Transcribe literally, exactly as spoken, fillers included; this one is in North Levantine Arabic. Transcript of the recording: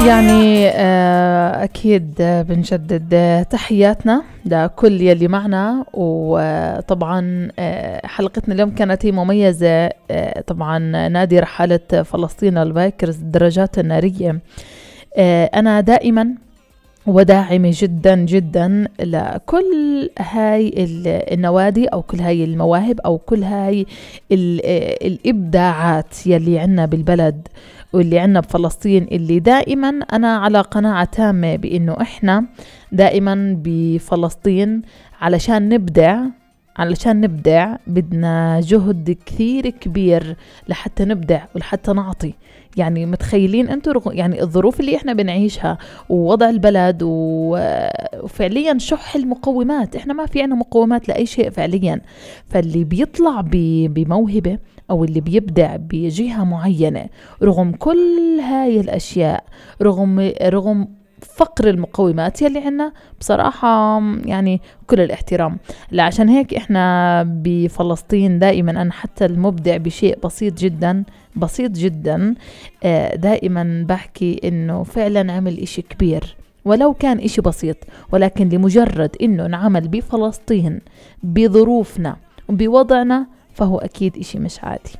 يعني أكيد بنجدد تحياتنا لكل يلي معنا. وطبعا حلقتنا اليوم كانت هي مميزة. طبعا نادي رحالة فلسطين البايكرز الدراجات النارية، أنا دائما وداعمة جدا جدا لكل هاي النوادي أو كل هاي المواهب أو كل هاي الإبداعات يلي عنا بالبلد واللي عنا بفلسطين، اللي دائما أنا على قناعة تامة بأنه إحنا دائما بفلسطين علشان نبدع علشان نبدع بدنا جهد كثير كبير لحتى نبدع ولحتى نعطي. يعني متخيلين أنتوا يعني الظروف اللي إحنا بنعيشها ووضع البلد وفعليا شح المقومات، إحنا ما في عنا مقومات لأي شيء فعليا. فاللي بيطلع بموهبة أو اللي بيبدع بجهة معينة رغم كل هاي الأشياء، رغم رغم فقر المقومات يلي عنا، بصراحة يعني كل الاحترام. عشان هيك إحنا بفلسطين دائما أنا حتى المبدع بشيء بسيط جدا بسيط جدا دائما بحكي إنه فعلا عمل إشي كبير ولو كان إشي بسيط، ولكن لمجرد إنه نعمل بفلسطين بظروفنا وبوضعنا فهو أكيد إشي مش عادي.